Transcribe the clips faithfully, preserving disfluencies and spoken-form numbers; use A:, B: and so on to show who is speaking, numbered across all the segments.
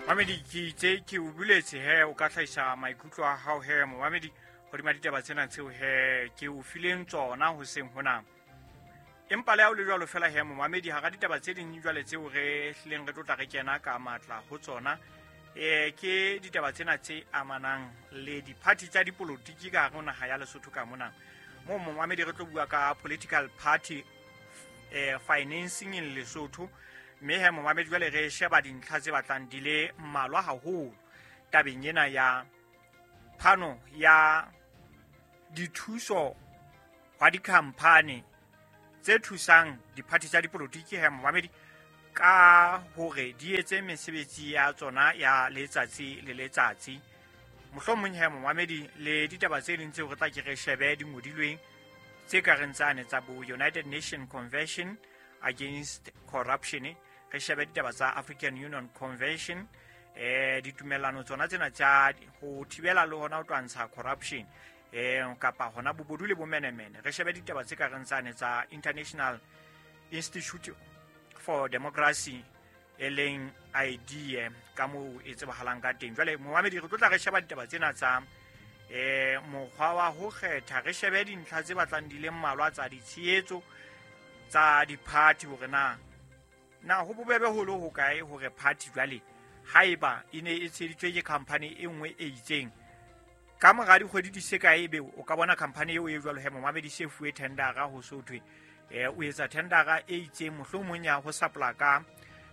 A: Mamedi, ke itse ke o buletse he o ka hlahisa maikutlo a hao he momamedi hodima ditaba tsena tseo he ke o fileng tsona hoseng hona. Empa le ha o le jwalo fela he momamedi, hara ditaba tse ding jwale tseo re hlileng re tlotla re kena ka matla ho tsona, eh ke ditaba tsena tse amanang le diphathi tsa dipolotiki ka hare ho naha ya Lesotho ka mona. Moo momamedi re tlo bua ka political party eh financing in Lesotho. Mme he momamedi jwale re sheba dintlha tse batlang di le mmalwa haholo tabeng ena ya phano ya dithuso hwa dikhamphani tse thusang diphathi tsa dipolotiki he momamedi ka hore di etse mesebetsi ya tsona ya letsatsi le letsatsi. Mohlomong he momamedi le ditaba tse ding tseo re tla ke re shebe di ngodilweng tse ka reng tsane tsa bo United Nations Convention Against Corruption, re shebe ditaba tsa African Union Convention, eh ditumellano tsona tsena tsa ho thibela le hona ho twantsha corruption, eh kapa hona bobodu le bomenemene. Re shebe ditaba tse ka reng tsane tsa International Institute for Democracy e leng I D ka moo e tsebahalang ka teng. Jwale momamedi re tlo tla re sheba ditaba tsena tsa eh mokgwa wa ho kgetha, re shebe dintlha tse batlang di le mmalwa tsa ditshehetso tsa diphathi hore na na ho bobebe ho le hokae hore party jwale haeba e ne e tsheheditswe ke company e nngwe e itseng, ka mora dikgwedi di se kae ebe o ka bona company eo e jwalo he momamedi se fuwe tendera ho so thwe eh o etsa tendera e itseng mohlomong ya ho supply ka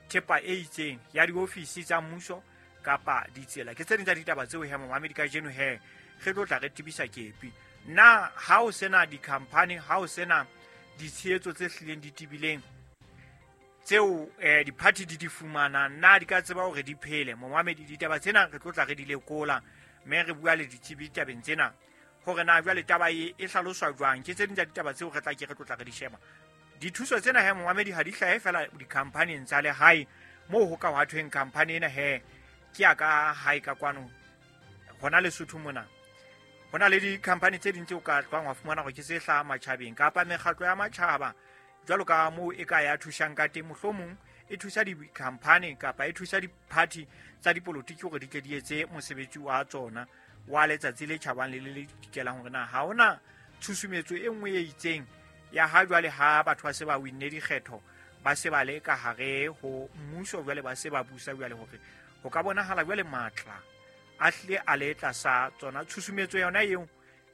A: thepa e itseng ya diofisi tsa mmuso kapa ditsela. Ke tse ding tsa ditaba tseo he momamedi kajeno he re tlo tla re tebisa kepi. Na ha o sena di-company, ha o sena ditshehetso tse hlileng di tibileng tseo eh diphathi di di fumanang, na di ka tseba hore di phele? Momamedi ditaba tsena re tlo tla re di lekola mme re bua le ditsebi tabeng tsena hore na jwale taba e e hlaloswa jwang. Ke tse ding tsa ditaba tseo re tla ke re tlo tla re di sheba. Dithuso tsena he momamedi ha di hlahe fela di-company-eng tsa lehae moo ho ka hwa thweng company ena he ke ya ka hae ka kwano hona Lesotho mona. Ho na le di-company tse ding tseo ka tlwang wa fumana hore ke tse hlahang matjhabeng kapa mekgatlo ya matjhaba jwalo ka moo e ka ya thusang ka teng, mohlomong e thusa di-company kapa e thusa di-party tsa dipolotiki hore di tle di etse mosebetsi wa tsona wa letsatsi le tjhabang le le le dikelang hore na ha hona tshusumetso e nngwe e itseng ya ha jwale ha batho ba se ba winne dikgetho ba se ba le ka hare ho mmuso jwale ba se ba busa jwale hore ho ka bonahala jwale matla a hlile a le tlasa tsona tshusumetso yona eo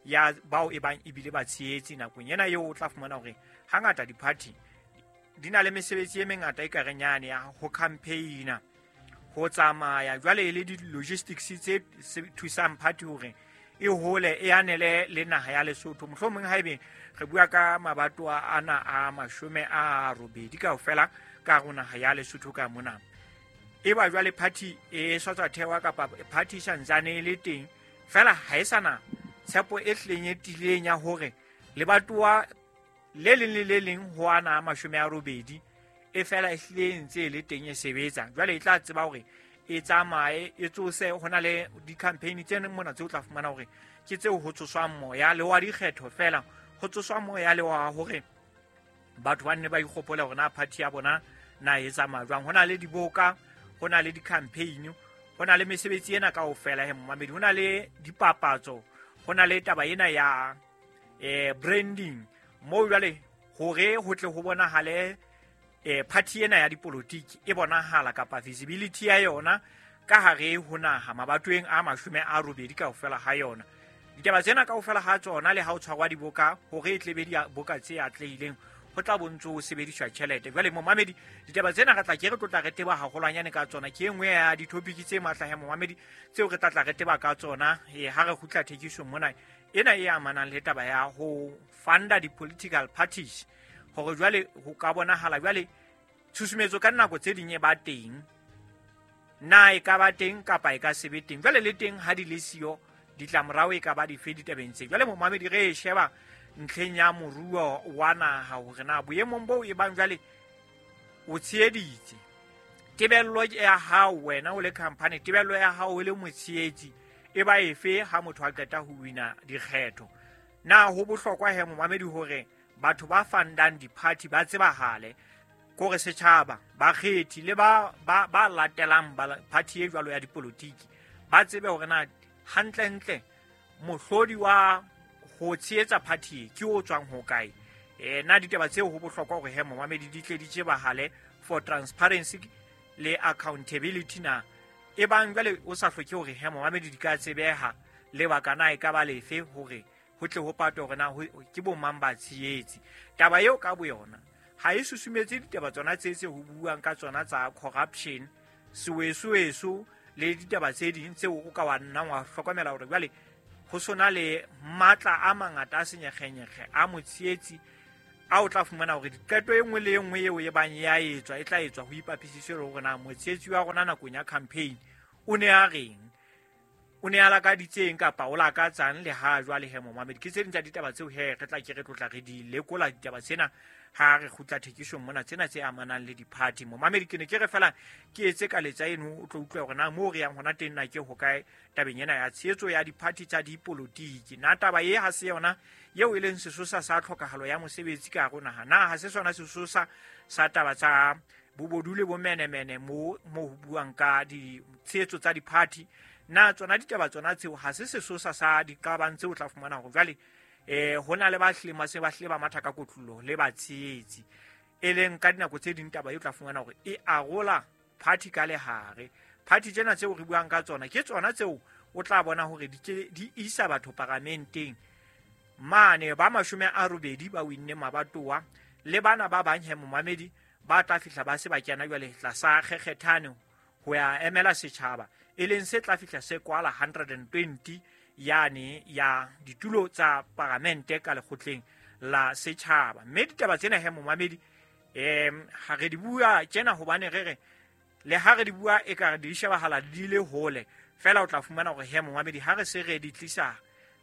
A: ya bao e bang ebile ba tshehetsi nakong ena eo o tla fumana hore hangata di-party di na le mesebetsi e mengata e ka reng yane ya ho campaign-a, ho tsamaya jwale e le di-logistics tse thusang party hore e hole e anele le naha ya Lesotho. Mohlomong haebe re bua ka mabatowa ana a mashome a robedi kaofela ka hare ho naha ya Lesotho ka mona, e ba jwale party e sa tswa thewa kapa party e santsane e le teng fela ha e sana tshepo e hlileng e tiileng ya hore lebatowa le leng le le leng ho ana a mashome a robedi e fela e hlile e ntse e le teng e sebetsa. Jwale e tla tseba hore e tsamaye e tsose ho na le di-campaign tse mona tseo o tla fumana hore ke tseo ho tsoswang moya le wa dikgetho fela, ho tsoswa moya le wa hore batho ba nne ba ikgopole hore na party ya bona na e tsamaya jwang. Ho na le diboka, ho na le di-campaign, ho na le mesebetsi ena kaofela he momamedi, ho na le dipapatso, ho na le taba ena ya eh branding moo jwale hore ho tle ho bonahale eh party ena ya dipolotiki e bonahala kapa visibility ya yona ka hare ho naha mabatoweng a mashome a robedi kaofela ha yona. Ditaba tsena kaofela ha tsona le ha o tshwarwa diboka hore e tle be diboka tse atlehileng ho tla bontso ho sebediswa tjhelete. Jwale momamedi ditaba tsena re tla ke re tlotla re teba haholwanyane ka tsona. Ke e nngwe ya di-topic tse matla he momamedi tseo re tla tla re teba ka tsona eh ha re kgutla thekisong mona ena e amanang le taba ya ho funda di-political parties hore jwale ho ka bonahala jwale tshusumetso ka nako tse ding e ba teng, na e ka ba teng kapa e ka se be teng. Jwale le teng ha di le siyo ditlamorao e ka ba dife ditabeng tse. Jwale momamedi re e sheba ntlheng ya moruo wa naha hore na boemong boo e bang jwale o tsheheditse tebello ya hao wena o le company, tebello ya hao o le motshehetsi e ba efe ha motho a qeta ho wina dikgetho. Na ho bohlokwa he momamedi hore batho ba fundang di-party ba tsebahale Kore setjhaba bakgethi le ba ba ba latelang ba party e jwalo ya dipolotiki ba tsebe hore na hantlentle mohlodi wa ho tshehetsa party ke o tswang ho kae. Eh na ditaba tseo ho bohlokwa hore he momamedi di tle di tsebahale for transparency le accountability na e bang jwale o sa hloke hore he momamedi di ka tsebeha lebaka na e ka ba lefe hore ho tle ho patwe hore na ke bo mang ba tshehetsi. Taba eo ka boyona ha e susumetse ditaba tsona tse tse ho buang ka tsona tsa corruption, sewesoweso le ditaba tse ding tseo o ka wa nnang wa hlokomela hore jwale ho sona le matla a mangata a senyekgenyekge a motshehetsi a o tla fumana hore diqeto e nngwe le e nngwe eo e bang ya etswa e tla etswa ho ipapisiswe le hore na motshehetsi wa rona nakong ya campaign o ne a reng, o ne a lakaditseng kapa o lakatsang le ha jwale he momamedi. Ke tse ding tsa ditaba tseo he re tla ke re tlotla re di lekola ditaba tsena ha re kgutla thekisong mona, tsena tse amanang le di-party. Momamedi ke ne ke re fela ke etse ka letsa eno o tlo utlwa hore na moo re yang hona teng na ke hokae tabeng ena ya tshehetso ya di-party tsa dipolotiki. Na taba e ha se yona eo e leng sesosa sa tlhokahalo ya mosebetsi ka hare ho naha? Na ha se sona sesosa sa taba tsa bobodu le bomenemene mo mo ho buang ka ditshehetso tsa di-party? Na tsona ditaba tsona tseo ha se sesosa sa diqabang tseo o tla fumana hore jwale eh hona le ba hlile mase ba hlile ba matha ka kotlolo le ba tshehetsi, e leng ka dinako tse ding taba e tla fumana hore e arola party ka lehare. Party tsena tseo re buang ka tsona ke tsona tseo o tla bona hore di di isa batho paramenteng mane ba mashome a robedi ba winne mabatowa le bana ba bang he momamedi ba tla fihla ba se ba kena jwale tlasa kgekgethane ho ya emela setjhaba, e leng se tla fihla se kwala one hundred twenty yane ya ditulo tsa paramente ka lekgotleng la setjhaba. Mme ditaba tsena he momamedi em ha re di bua tjena hobane re re le ha re di bua e ka re di shebahala di le hole fela, o tla fumana hore he momamedi ha re se re di tlisa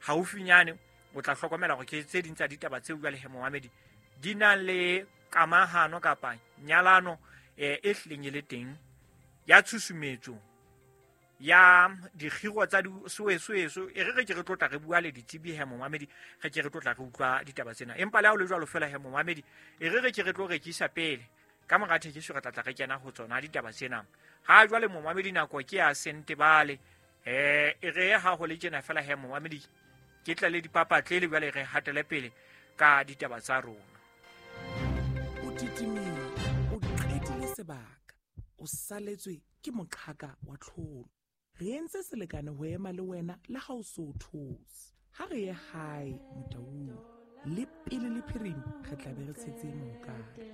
A: haufinyane o tla hlokomela hore ke tse ding tsa ditaba tseo jwale he momamedi di na le kamahano kapa nyalano e hlileng e le teng ya tshusumetso ya dikgiro tsa disoesoeso. E re re ke re tlotla re bua le ditsebi he momamedi, re ke re tlotla re utlwa ditaba tsena. Empa le ha o le jwalo fela he momamedi, e re re ke re tlo rekisa pele ka mora thekiso re tla tla re kena ho tsona ditaba tsena. Ha jwale momamedi nako ke ya Sentebale, eh e re ha ho le tjena fela he momamedi ke tla le dipapatlele jwale re hatele pele ka ditaba tsa rona.
B: O titimile, o qetile sebaka, o saletswe ke moqhaka wa tlholo. Re entse selekane ho ema le wena le ha o so those. Ha re ye hae Motaung, le pele le phirima re tla be re tshetse mokare.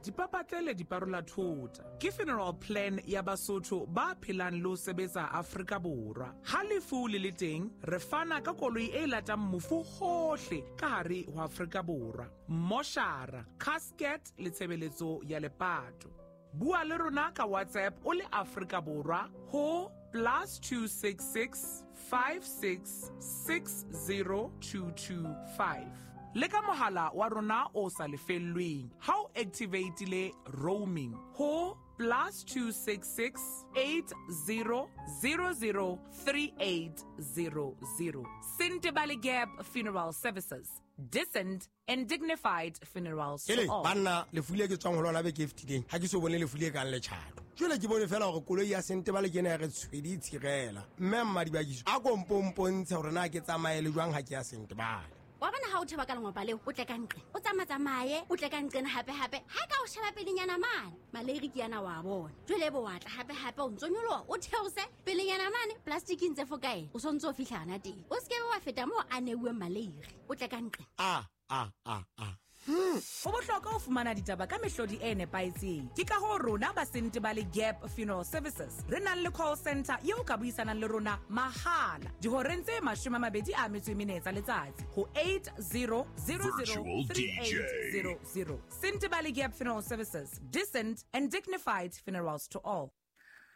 B: Dipapatlele di parola thota ke funeral plan ya Basotho ba phelang le ho sebetsa Afrika Borwa. Ha lefu le le teng, re fana ka koloi e latang mofu hohle ka hare ho Afrika Borwa, moshara, casket le tshebeletso ya lepato. Bua le rona ka WhatsApp o le Afrika Borwa ho plus two six six five six six zero two two five. Le ka mohala wa rona o sa lefellweng ha o activate-ile roaming ho plus two six six eight zero zero zero three eight zero zero. Sentebale Gap Funeral Services, decent and dignified funerals to all.
C: Banna lefu le ke tswang ho lona beke e fetileng ha ke so bone lefu le kang letjhato. Jwale ke bone fela hore koloi ya Sentebale ke ena ya re tshwedi tshirela. Mme mmadibakiso a kompompontshe hore na ke tsamaye le jwang ha ke ya Sentebale.
D: Wa bona ha o theba ka lengwapa leo, o tle ka nqe, o tsamatsamaye, o tle ka nqena hape hape. Ha ka o sheba pelenyana mane, maleiri ke yana wa bona. Jwale bo wa tla hape hape o ntso nyoloha, o theose pelenyana mane, plastic ntse fo kae, o sontso o fihla hana teng. O se ke wa feta moo a neuweng maleiri, o tle ka nqe.
C: A a a a.
B: Ho bohlokwa ho fumana ditaba ka mehlodi e nepahetseng. Ke ka hoo rona ba Sentebale Gap Funeral Services re nang le call center eo ka buisanang le rona mahala dihoreng tse mashome a mabedi a metso e mene tsa letsatsi ho eight zero zero zero three eight zero zero. Sentebale Gap Funeral Services, decent and dignified funerals to all.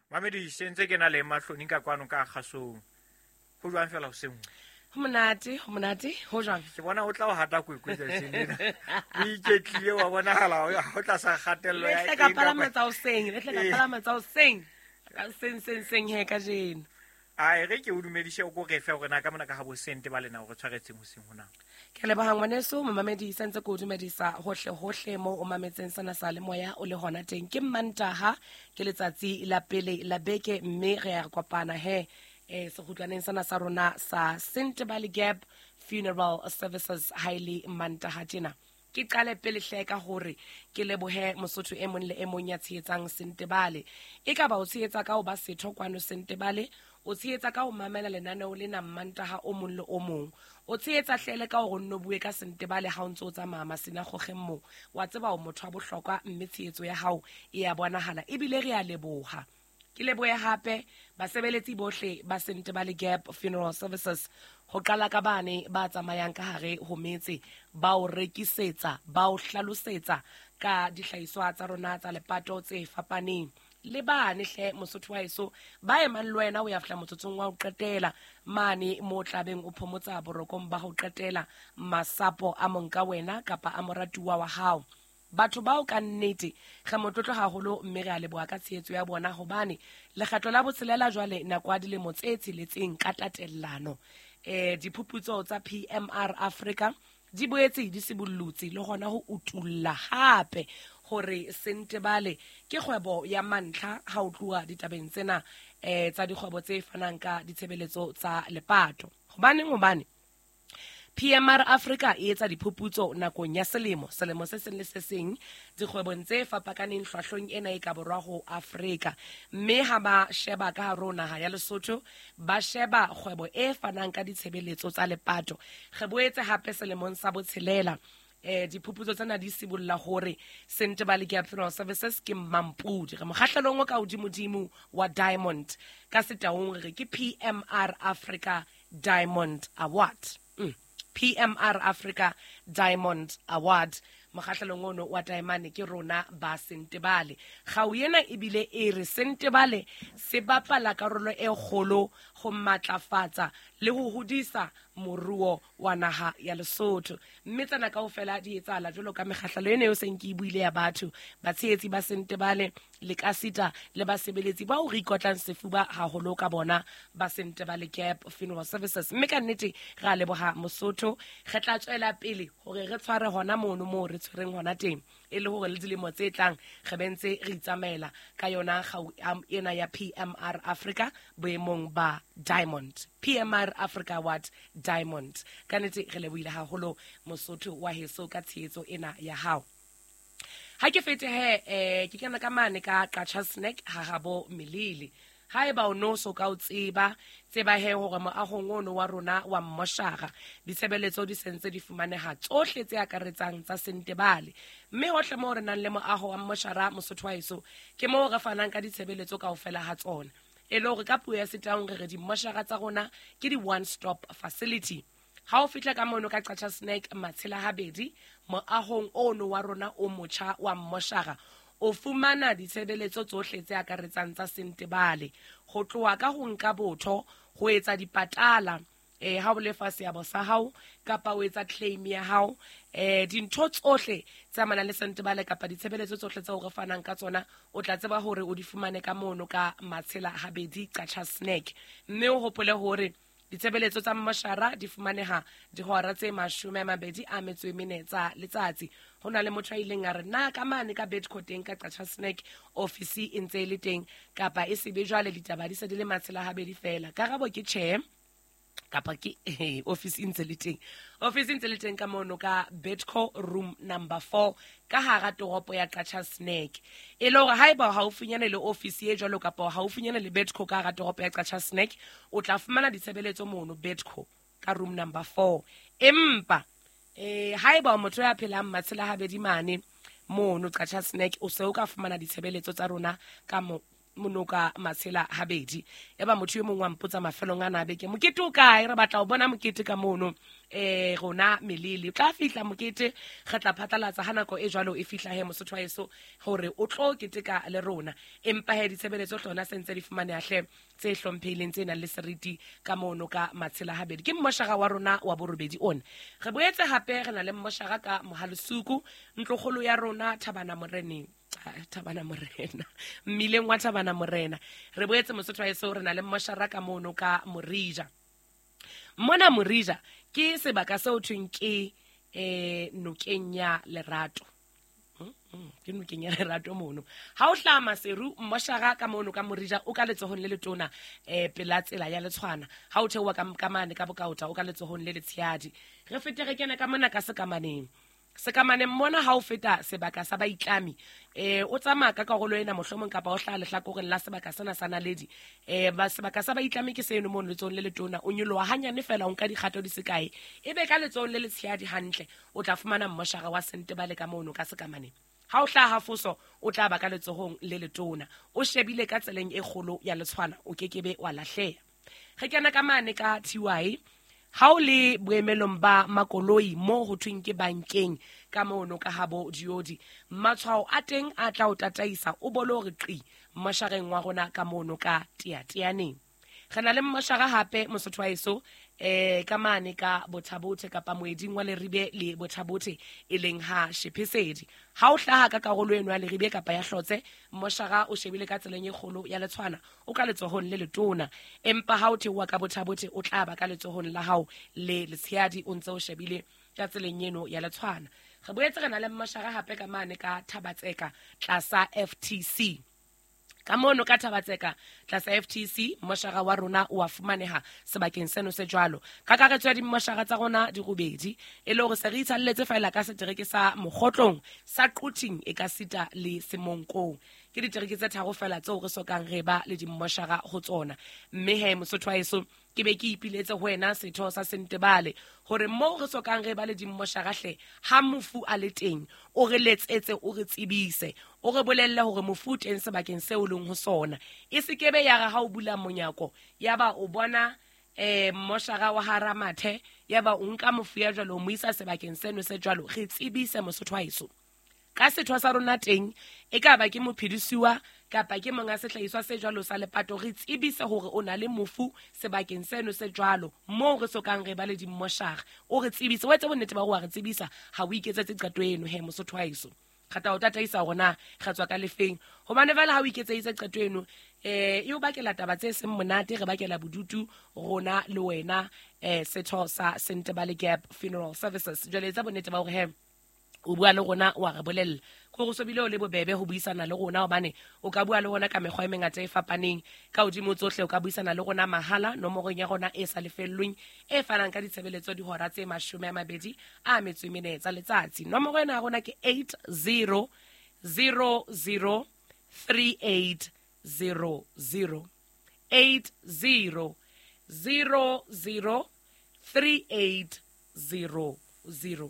A: Mamedi se ntse ke na le mahloni ka kwano ka kgasong. Ho jwang fela ho seng?
E: Ho monate, ho monate, ho jwang?
A: Ke bona o tla o hata kwekwe tsatsing lena. O iketlile wa bonahala o tla sa kgatello ya.
E: Le tle ka palama tsa hoseng, le tle ka palama tsa hoseng. Ka seng seng seng he kajeno.
A: A e re ke o dumedise o ko re fe hore na ka mona ka ha bo Sentebale na o re tshwaretseng hoseng hona.
E: Ke leboha ngwaneso momamedi santse ko dumedisa hohle hohle mo o mametseng sena sa le moya o le hona teng. Ke Mantaha, ke letsatsi la pele la beke, mme re a kopana he eh sekgutlwaneng sena sa rona sa Sentebale Gap Funeral Services haile Mantaha tjena. Ke qale pele hle ka hore ke lebohe Mosotho e mong le e mong ya tshehetsang Sentebale. E ka ba o tshehetsa ka ho ba setho kwano Sentebale, o tshehetsa ka ho mamela lenaneo lena Mantaha o mong le o mong, o tshehetsa hlele ka hore o nno bue ka Sentebale ha o ntso o tsamaya masina kgokgeng moo. Wa tseba o motho wa bohlokwa, mme tshehetso ya hao e ya bonahala, ebile re a leboha. Ke lebohe hape basebeletsi bohle ba Sentebale Gap Funeral Services, ho qala ka bane ba tsamayang ka hare ho metse, ba o rekisetsa, ba o hlalosetsa ka dihlahiswa tsa rona tsa lepato tse fapaneng. Le bane hle Mosotho wa heso ba emang le wena o ya fihla motsotsong wa ho qetela mane mo tlabeng o phomotsa borokong ba ho qetela masapo a monka wena kapa a moratuwa wa hao. Batho bao ka nnete re motlotlo haholo, mme re a leboha ka tshehetso ya bona, hobane lekgetlo la botshelela jwale nako ya dilemo tse tsheletseng ka tatellano. Eh diphuputso tsa P M R Africa di boetse di sibollotse le hona ho utulla hape hore Sentebale ke kgwebo ya mantlha ha o tluwa ditabeng tsena eh tsa dikgwebo tse fanang ka ditshebeletso tsa lepato. Hobaneng? Hobane P M R Africa e etsa diphuputso nakong ya selemo, selemo se seng le se seng dikgwebong tse fapakaneng hlwahlweng ena e ka borwa ho Afrika. Mme ha ba sheba ka hare ho naha ya Lesotho, ba sheba kgwebo e fanang ka ditshebeletso tsa lepato. Re boetse hape selemong sa botshelela eh diphuputso tsena di sibolla hore Sentebale Gap Funeral Services ke mampudi, re mokgahlelong o ka hodimodimo wa Diamond, ka setaung re ke P M R Africa Diamond Award. Mm. P M R Africa Diamond Award, mokgahlelong ono wa diamond ke rona ba Sentebale. Kgau ena ebile e re Sentebale se bapala karolo e kgolo ho matlafatsa le ho hodisa moruo wa naha ya Lesotho. Mme tsena kaofela di etsahala jwalo ka mekgahlelo ena eo seng ke e buile ya batho, batshehetsi ba Sentebale le kasita le basebeletsi bao re ikotlang sefuba haholo ka bona ba Sentebale Gap Funeral Services. Mme ka nnete re a leboha Mosotho, re tla tswela pele hore re tshware hona mono moo re tshwereng hona teng, e le hore le dilemo tse tlang re bentse re itsamaela ka yona kgau ena ya P M R Africa boemong ba Diamond, P M R Africa Award Diamond. Ka nnete re lebohile haholo Mosotho wa heso ka tshehetso ena ya hao. Ha ke fete he eh ke kena ka mane ka Qacha Snack ha habo Melele. Haeba o no so ka o tseba, tseba he hore moahong ono wa rona wa mmoshara ditshebeletso di sentse di fumaneha tsohle tse akaretsang tsa Sentebale. Mme hohle moo re nang le moaho wa mmoshara Mosotho wa heso, ke moo re fanang ka ditshebeletso kaofela ha tsona. E le hore ka puo ya setaung re re dimmoshara tsa rona ke di one stop facility. Ha o fihla ka mono ka Qacha Snack Matshela habedi moahong ono wa rona o motjha wa mmoshara, o fumana ditshebeletso tsohle tse akaretsang tsa Sentebale, ho tloha ka ho nka botho, ho etsa dipatala eh ha o lefa seabo sa hao kapa o etsa claim ya hao, eh dintho tsohle tse amanang le Sentebale kapa ditshebeletso tsohle tseo re fanang ka tsona, o tla tseba hore o di fumane ka mono ka Matshela habedi Qacha Snack. Mme o hopole hore ditshebeletso tsa mmoshara di fumaneha dihora tse mashome a mabedi a metso e mene tsa letsatsi. Ho na le motho a ileng a re na ka mane ka Bedco teng ka Qacha Snack office e ntse e le teng kapa e sebe jwale ditaba di se di le Matshela habedi fela. Karabo ke tjhe, kapa ke eh, office e ntse le teng. Office e ntse le teng ka mono ka Bedco room number four ka hara toropo ya Qacha Snack. E le hore haeba haufinyane le office e jwalo kapa haufinyane le Bedco ka hara toropo ya Qacha Snack, o tla fumana ditshebeletso mono Bedco ka room number four. Empa eh haeba motho ya phelang Matshela habedi mane mono Qacha Snack, o se o ka fumana ditshebeletso tsa rona ka mo monoka Matshela habedi. Eba motho e mong wa mpotsa mafelong ana beke, mokete o kae? Re batla ho bona mokete ka mono eh rona Melele. O tla fihla mokete, re tla phatlalatsa ha nako e jwalo e fihla he Mosotho wa heso hore o tlo keteka le rona. Empa he ditshebeletso hlona sentse di fumaneha hle tse hlomphehileng tse nang le seriti ka mono ka Matshela habedi. Ke mmoshara wa rona wa borobedi ona. Re boetse hape re na le mmoshara ka Mohalesuku, ntlokgolo ya rona Thabana Moreneng. Thabana Morena, mmileng wa Thabana Morena. Re boetse Mosotho wa heso re na le mmoshara ka mono ka Morija. Mona Morija Ke sebaka seo thweng ke eh nokeng ya Lerato. Ke nokeng ya Lerato mono. Ha o hlaha Maseru mmoshara ka mono ka Morija o ka letsohong le letona eh pela tsela ya Letshwana. Ha o theoha ka ka mane ka Bokaota o ka letsohong le letshehadi. Re fete re kena ka mona ka Sekamaneng. Sekamaneng mona ha o feta sebaka sa baitlami eh o tsamaya ka karolo ena mohlomong kapa o hlaha lehlakoreng la sebaka sena sa Naledi eh ba sebaka sa baitlami ke seno mono letsohong le letona o nyoloha hanyane fela o nka dikgato di sekae ebe ka letsohong le letshehadi hantle o tla fumana mmoshara wa Sentebale ka mono ka Sekamaneng. Ha o hlaha Foso o tla ba ka letsohong le letona o shebile ka tseleng e kgolo ya Letshwana o kekebe wa lahleha. Re kena ka mane ka T Y ha o le boemelong ba makoloi mo ho thweng ke bankeng ka mono ka habo diodi matshwao a teng a tla o tataisa o bole hore qi moshareng wa rona ka mono ka Teateaneng. Re na le mmoshara hape Mosotho wa heso eh ka mane ka Bothabothe kapa moeding wa Leribe le Bothabothe e leng ha Shephesedi. Ha o hlaha ka karolo eno ya Leribe kapa ya Hlotse mmoshara o shebile ka tseleng e kgolo ya Letshwana o ka letsohong le letona, empa ha o theoha ka Bothabothe o tla ba ka letsohong la hao le letshehadi o ntse o shebile ka tseleng eno ya Letshwana. Re boetse re na le mmoshara hape ka mane ka Thabatseka tlasa F T C. Ka mono ka Thabatseka tlasa F T C mmoshara wa rona o a fumaneha sebakeng seno se jwalo. Kakaretso ya dimmoshara tsa rona di robedi e le hore se re itshalletse feela ka setereke sa Mokgotlong sa Quthing e ka sita le Semonkong. Ke ditereke tse tharo feela tseo re sokang re ba le dimmoshara ho tsona. Mme he Mosotho wa heso ke be ke ipiletse ho wena setho sa Sentebale hore moo re sokang re ba le dimmoshara hle ha mofu a le teng o re letsetse o re tsebise o re bolelle hore mofu o teng sebakeng seo leng ho sona. E se kebe ya re ha o bula monyako ya ba o bona eh mmoshara wa Haramathe ya ba o nka mofu ya jwalo o mo isa sebakeng seno se jwalo. Re tsebise Mosotho wa heso ka setho sa rona teng e ka ba ke mophedisiwa kapa ke monga sehlahiswa se jwalo sa lepato re tsebise hore o na le mofu sebakeng seno se jwalo moo re sokang re ba le dimmoshara o re tsebise o etse bonnete ba hore wa re tsebisa ha o iketsetse qeto eno he Mosotho wa heso. Kgata o tataisa hore na re tswa ka lefeng hobane fela ha o iketseditse qeto eno eh e o bakela taba tse seng monate re bakela bodutu rona le wena eh setho sa Sentebale Gap Funeral Services. Jwale etsa bonnete ba hore he o bua le rona wa re bolella gore so bile o le bobebe ho buisana le rona hobane o ka bua le rona ka mekgwa e mengata e fapaneng ka hodimo tsohle o ka buisana le rona mahala nomorong ya rona e sa lefellweng e fanang ka ditshebeletso dihora tse mashome a mabedi a metso e mene tsa letsatsi. Nomoro ena ya rona ke eight zero zero zero three eight zero zero eight zero zero zero three eight zero zero.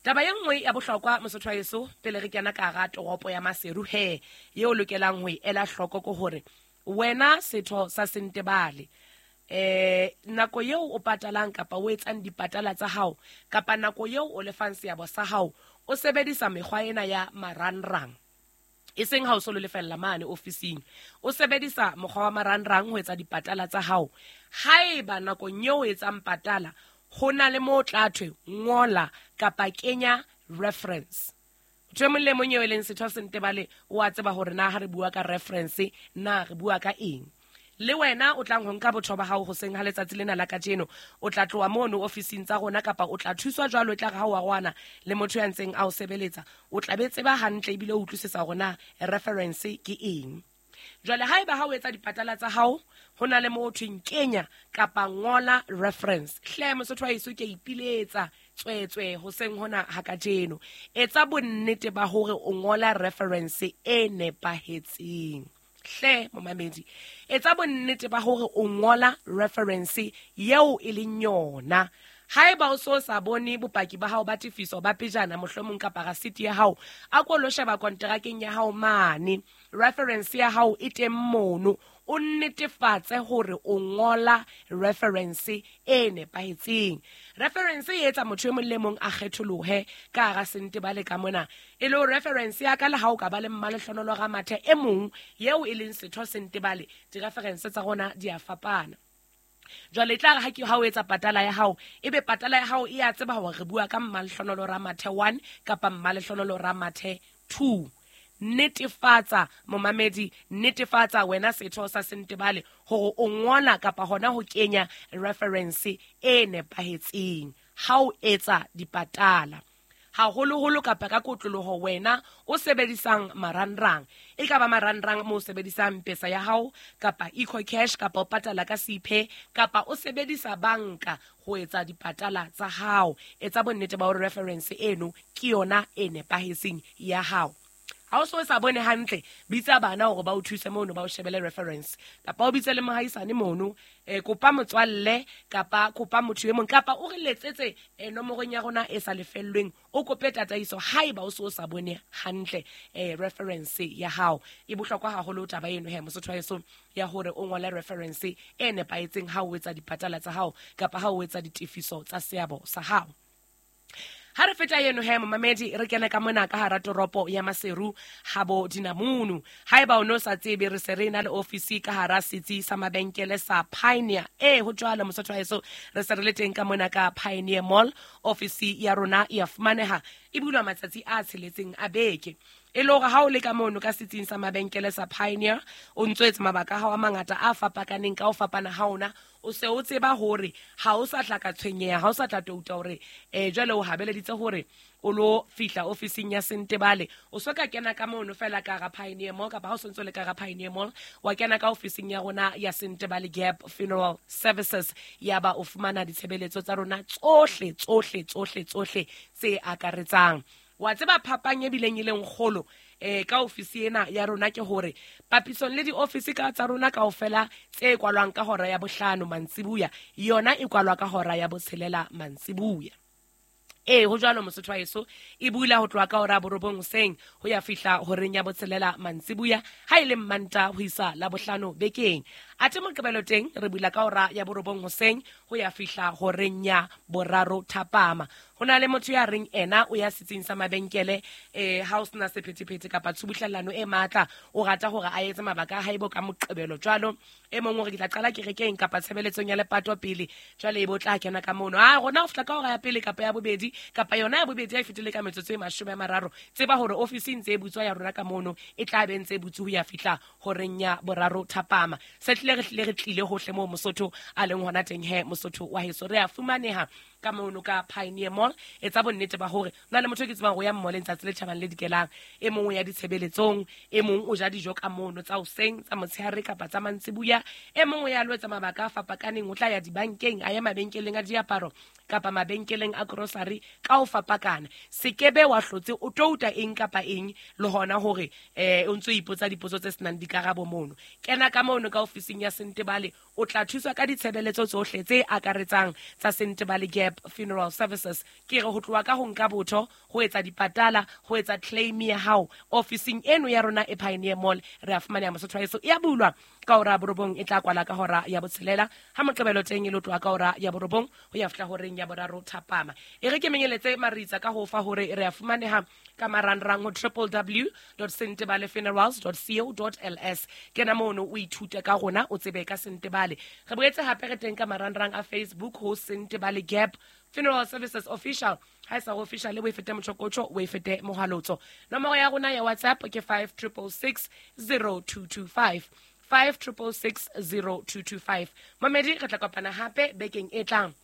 E: Taba ye nngwe ya bohlokwa Mosotho wa heso pele re kena ka hara toropo ya Maseru he yeo lokelang ho e ela hloko ke hore wena setho sa Sentebale eh nako eo o patalang kapa o etsang dipatala tsa hao kapa nako eo o lefang seabo sa hao o sebedisa mekgwa ena ya marangrang e seng ha o solo lefella mane ofising o sebedisa mokgwa wa marangrang ho etsa dipatala tsa hao. Haeba nakong eo o etsang patala ho na le mo tla thwe ngola kapa kenya reference. Motho e mong le mong eo e leng setho Sentebale o a tseba hore na ha re bua ka reference na re bua ka eng. Le wena o tlang ho nka botho ba hao hoseng ha letsatsi lena la kajeno o tla tloha mono ofising tsa rona kapa o tla thuswa jwalo e tla re ha o arwana le motho ya ntseng a o sebeletsa o tla be tseba hantle ebile o utlwisisa hore na reference ke eng. Jwale haeba ha o etsa dipatala tsa hao ho na le mo thweng kenya kapa ngola reference hle Mosotho wa heso ke ipiletsa tswetswe hoseng hona ha kajeno etsa bonnete ba hore o ngola reference e nepahetseng. Hle momamedi etsa bonnete ba hore o ngola reference yeo e leng yona. Haeba o so sa bone bopaki ba hao ba tefiso ba pejana mohlomong kapa rasiti ya hao a ko lo sheba kontrakeng ya hao mane reference ya hao e teng mono o netefatse hore o ngola reference e nepahetseng. Reference e etsa motho e mong le mong a kgetholohe ka hara Sentebale ka mona e le reference ya ka le ha o ka ba le Mmalehlohonolo Ramathe e mong yeo e leng setho Sentebale di-reference tsa rona di a fapana. Jwale tla re ha ke ha o etsa patala ya hao ebe patala ya hao e a tseba hore re bua ka Mmalehlohonolo Ramathe one kapa Mmalehlohonolo Ramathe two. Netefatsa momamedi, netefatsa wena setho sa Sentebale hore o ngola kapa hona ho kenya reference e nepahetseng ha o etsa dipatala. Haholoholo kapa ka kotloloho wena o sebedisang marangrang, e ka ba marangrang mo o sebedisang pesa ya hao kapa EcoCash kapa o patala ka Cpay kapa o sebedisa banka ho etsa dipatala tsa hao. Etsa bonnete ba hore reference eno ke yona e nepahetseng ya hao. Ha o so sa bone hantle, bitsa bana hore ba o thuse mono ba o shebele reference, kapa o bitse le mohaisane mono, eh, kopa motswalle kapa kopa motho e mong, kapa o re letsetse eh, nomorong ya rona e sa lefellweng, o kope tataiso haeba o so sa bone hantle eh, reference ya hao. E bohlokwa haholo taba eno he mosotho wa heso ya hore o ngole reference e nepahetseng ha o etsa dipatala tsa hao kapa ha o etsa ditefiso tsa seabo sa hao. Ha re feta eno he momamedi, re kena ka mona ka hara toropo ya Maseru habo Dinamunu. Haeba o no sa tsebe, re se re na le ofisi ka hara setsi sa mabenkele sa Pioneer. Eh ho jwalo mosotho wa heso, re se re le teng ka mona ka Pioneer Mall. Ofisi ya rona e a fumaneha, e bulwa matsatsi a tsheletseng a beke. E le hore ha o le ka mono ka setsing sa mabenkele sa Pioneer, o ntso etsa mabaka a hao a mangata a fapakaneng ka ho fapana ha ona, o se o tseba hore ha o sa tla ka tshwenyeha, ha o sa tla touta hore eh jwale o habeleditse hore o lo fihla ofising ya Sentebale. O so ka kena ka mono fela ka ga Pioneer Mall, kapa ha o sontso le ka ga Pioneer Mall, wa kena ka ofising ya rona ya Sentebale Gap Funeral Services, ya ba o fumana ditshebeletso tsa rona tsohle tsohle tsohle tsohle tse akaretsang. Wa tseba phapang e bileng e leng kgolo eh ka ofisi ena ya rona ke hore papisong le diofisi ka tsa rona kaofela tse kwalwang ka hora ya bohlano mantsibuya, yona e kwalwa ka hora ya botshelela mantsibuya. Eh ho jwalo mosotho wa heso, e bula ho tloha ka hora ya borobong hoseng ho ya fihla horeng ya botshelela mantsibuya, ha e le Mmantaha ho isa la bohlano bekeng. Athe Moqebelo teng re bula ka hora ya borobong hoseng ho ya fihla horeng ya boraro thapama. Ho na le motho ya reng ena o ya setsing sa mabenkele eh ha o sena sephethephethe kapa tshubuhlellano e matla, o rata hore a etse mabaka a hae bo ka Moqebelo jwalo. E mong o re ke tla qala kerekeng kapa tshebeletsong ya lepato pele, jwale e bo tla kena ka mono. Ah rona ho fihla ka hora ya pele kapa ya bobedi kapa yona ya bobedi ya e fetile ka metsotso e mashome a mararo, tseba hore ofisi ntse e butswa ya rona ka mono e tla be ntse e butswe ho ya fihla horeng ya boraro thapama. Se tlile re tlile re tlile hohle moo mosotho a leng hona teng he mosotho wa heso, re a fumaneha ka mono ka Pioneer Mall. Etsa bonnete ba hore na le motho ke tsebang ho ya mall letsatsi le tjhabang le dikelang, e mong o ya ditshebeletsong, e mong o ja dijo ka mono tsa hoseng, tsa motshehare kapa tsa mantsibuya, e mong o ya lo etsa mabaka a fapakaneng, o tla ya dibankeng, a ya mabenkeleng a diaparo kapa mabenkeleng a grocery ka ho fapakana. Sekebe wa hlotse o touta eng kapa eng le hona hore eh o ntso ipotsa dipotso tse senang dikarabo mono. Kena ka mono ka ofising ya Sentebale, o tla thuswa ka ditshebeletso tsohle tse akaretsang tsa Sentebale Gap Funeral Services. Ke re ho tloha ka ho nka botho, ho etsa dipatala, ho etsa claim ya hao ofising eno ya rona e Pioneer Mall. Re a fumaneha mosotho wa heso, e a bulwa ka hora ya borobong, e tla kwala ka hora ya botshelela, ha Moqebelo teng e lo tloha ka hora ya borobong ho ya fihla horeng ya boraro thapama. E re ke menyeletse maritsa ka ho fa hore re a fumaneha ka marangrang ho w w w dot sentebale funerals dot co dot l s. Kena mono o ithute ka rona, o tsebe ka Sentebale. Re boetse hape re teng ka marangrang a Facebook ho Sentebale Gap Funeral Services Official. Ha e sa official o e fete motjhokotjho, o e fete mohalotso. Nomoro ya rona ya WhatsApp ke five triple six zero two two five, five triple six zero two two five. Mamedi, re tla kopana hape bekeng e tlang.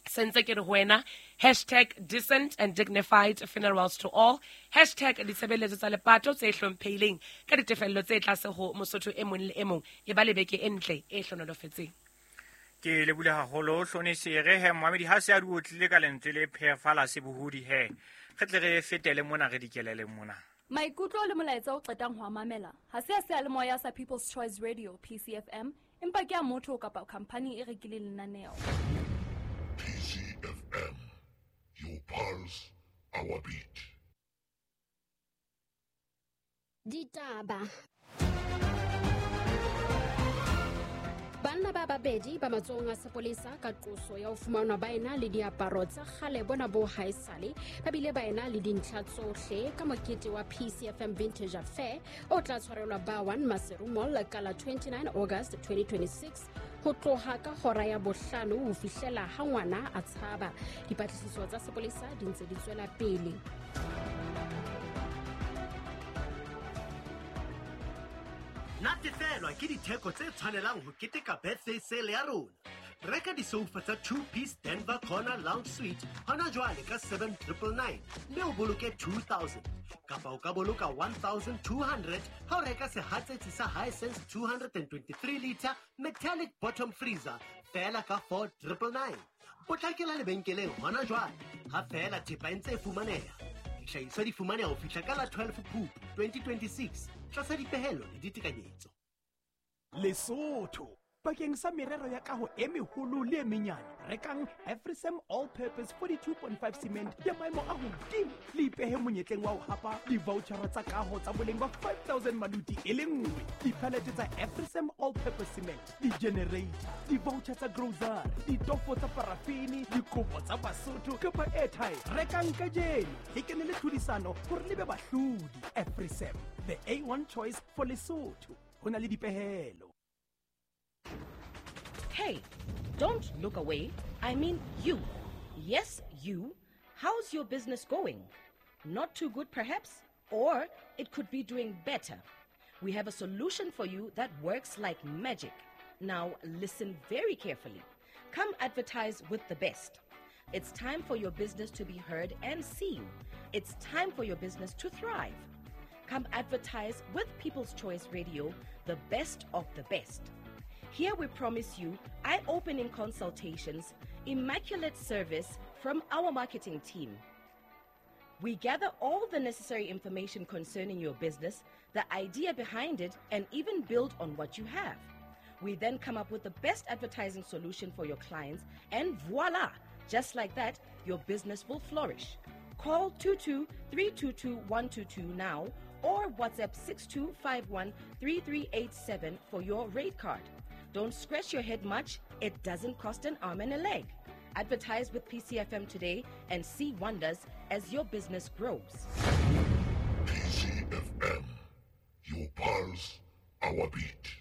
E: Sentse ke re ho wena, hashtag decent and dignified funerals to all, hashtag ditshebeletso tsa lepato tse hlomphehileng ka ditefello tse tlase ho mosotho e mong le e mong. E ba le beke e ntle e hlonolofetseng.
A: Ke lebule haholo Hlonese. Re he momamedi, ha se a di otlile ka lentswe le phefala sebohodi he, re tle re fetele mona re dikelele mona.
F: Maikutlo le molaetsa o qetang ho a mamela ha se a seyalemoya sa People's Choice Radio P C F M, empa ke a motho kapa khampani e rekileng lenaneo.
G: P C F M, your pulse, our beat.
D: Ditaba. Banna ba babedi ba matsohong a sepolesa ka qoso ya ho fumanwa ba ena le diaparo tsa kgale bona bo haesale, ba bile ba ena le dintlha tsohle ka mokete wa P C F M Vintage Affair o tla tshwarelwa ba one Maseru Mall ka la twenty-nine August twenty twenty-six ho tloha ka hora ya bohlano ho fihlela ha ngwana a tshaba. Dipatlisiso tsa sepolesa di ntse di tswela pele.
H: Natefelwa ke ditheko tse tshwanelang ho keteka birthday sale ya rona. Reka disoufa tsa two-piece Denver Corner Lounge Suite hona jwale ka seven triple nine mme o boloke two thousand. Kapa o ka boloka one thousand two hundred ha o reka sehatsetsi sa Hisense two hundred and twenty-three liter metallic bottom freezer feela ka four triple nine. Potlakela lebenkeleng hona jwale ha feela thepa e ntse e fumaneha. Dihlahiswa di fumaneha ho fihla ka la twelve Phupu twenty twenty-six tlasa dipehelo le ditekanyetso.
I: Lesotho bakeng sa merero ya kaho e meholo le e menyane, rekang Afrisem All Purpose forty-two point five cement ya maemo a hodimo le ipehe monyetleng wa ho hapa di-vouchera tsa kaho tsa boleng ba five thousand maluti e le nngwe, dipalete tsa Afrisem All Purpose cement, di-generator, di-voucher tsa grocery, ditofo tsa parafini, dikopo tsa Basotho kapa airtime. Rekang kajeno le kene le tlhodisano hore le be bahlodi. Afrisem, the A one choice for Lesotho. Ho na le dipehelo.
J: Hey, don't look away. I mean you. Yes, you. How's your business going? Not too good, perhaps? Or it could be doing better. We have a solution for you that works like magic. Now, listen very carefully. Come advertise with the best. It's time for your business to be heard and seen. It's time for your business to thrive. Come advertise with People's Choice Radio, the best of the best. Here we promise you eye-opening consultations, immaculate service from our marketing team. We gather all the necessary information concerning your business, the idea behind it, and even build on what you have. We then come up with the best advertising solution for your clients, and voila! Just like that, your business will flourish. Call two two three two two one two two now or WhatsApp six two five one three three eight seven for your rate card. Don't scratch your head much. It doesn't cost an arm and a leg. Advertise with P C F M today and see wonders as your business grows.
G: P C F M, your pulse, our beat.